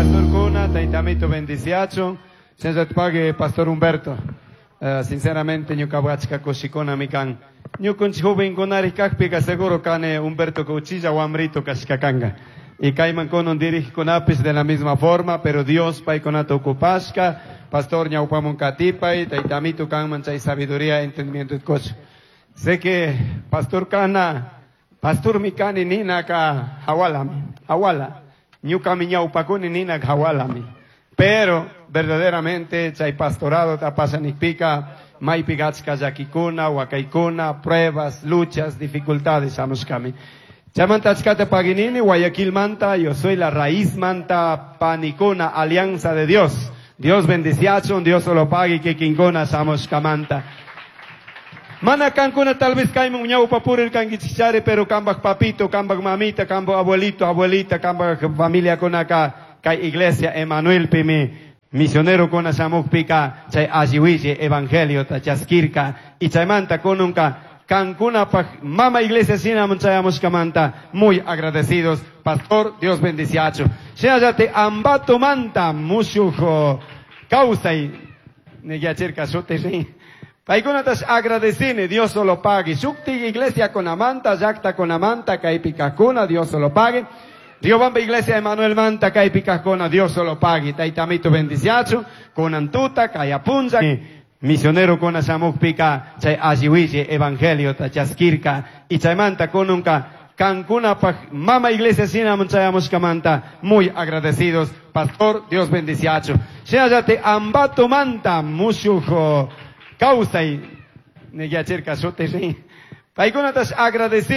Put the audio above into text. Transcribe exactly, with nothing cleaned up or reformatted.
Pastor kuna, taytamito bendiciachun, pague Pastor Humberto. Uh, sinceramente ñuka achka kushikunami kan. Ñukunchik jovenkunari kakpika seguro kane Humberto uchilla wamrito kashka kanka. Y kayman kunan dirigkunapis de la misma forma, pero Dios paykunata ocupashka, Pastor ñawpamun katipay, taytamito kanman chay sabiduría, entendimiento y. Sé que Pastor Kana, Pastor mikani ninaka hawalami, hawala. Ñukami ñawpakuni ninaka hawalami. Pero verdaderamente chay pastorado tapasanikpika, maypika achka llakikuna, wakaykuna, pruebas, luchas, dificultades shamushkami. Chaymanta achkata paginini, Guayaquil manta, yo soy la raíz manta panikuna, alianza de Dios. Dios bendiciachun, Dios solo pague kikinkuna shamushkamanta. Mana kankuna tal vez kayman ñawpa purir kankichikchari, pero kambaj papito, kambaj mamita, kambaj abuelito, abuelita, kambaj familia kunaka, kay iglesia Emanuel pimi, misionero kuna shamukpika, chay alliwilli evangelio ta chaskirka, y chaymanta kununka, kankunapaj mama iglesia shinamun chayamushkamanta, muy agradecidos, pastor, Dios bendiciachu. Shinallati ambato manta, mushuj kawsay, niyachirka shuti rin. Paykunatas agradecine, Dios solo pague. Shukti iglesia con amanta, llakta con amanta, kaypi kajkuna, Dios solo pague. Riobamba iglesia Emanuel Manta, kaypi kajkuna, Dios solo pague. Taytamito bendiciachu, kunan tuta, kaya punlla. Misionero kuna shamukpika, chay alliwilli evangelio ta chaskirka, y chaymanta kununka, kankunapaj mama iglesia shinamun chayamushkamanta, muy agradecidos, pastor, Dios bendiciachu. Shinallati ambato manta, mushuj kawsay, niyachirka shuti rin. Paykunatas agradecidos.